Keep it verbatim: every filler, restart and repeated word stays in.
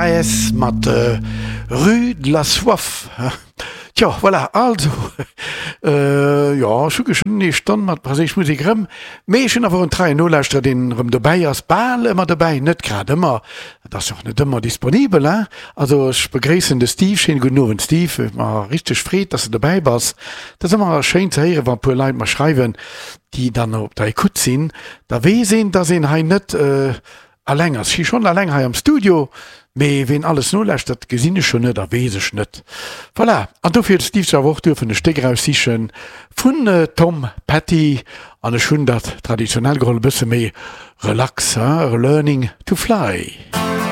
AS mat Rue de la Soif. Tjo, voilà, also, jo, ech hu geschwënn ee Stonn mat franséisch Musek erëm, mee ech hunn awer och en treien Nolauschterer, deen erëm dobäi ass, bal ëmmer dobäi, net grad ëmmer, et ass jo och net ëmmer disponibel, hein. Also ech begréissen de Steve, schéine gudden Owend Steve, huet mer richteg Freed, dass de dobäi bass. Et ass ëmmer schéin ze héieren, wa puer Leit mer schreiwen, déi dann op der Ecoute sinn, da weess een, dass een hei net Alleng ass si schonn alleng hei am Studio, mee ween alles nolauschtert, gesinn ech jo net a weess ech net. Voilà, an dofir huet de Steve sech awer och duerfen e Stéck eraussichen vun Tom Petty, an ech hunn dat traditionell geholl, e bësse méi relax, hein, Learning to Fly.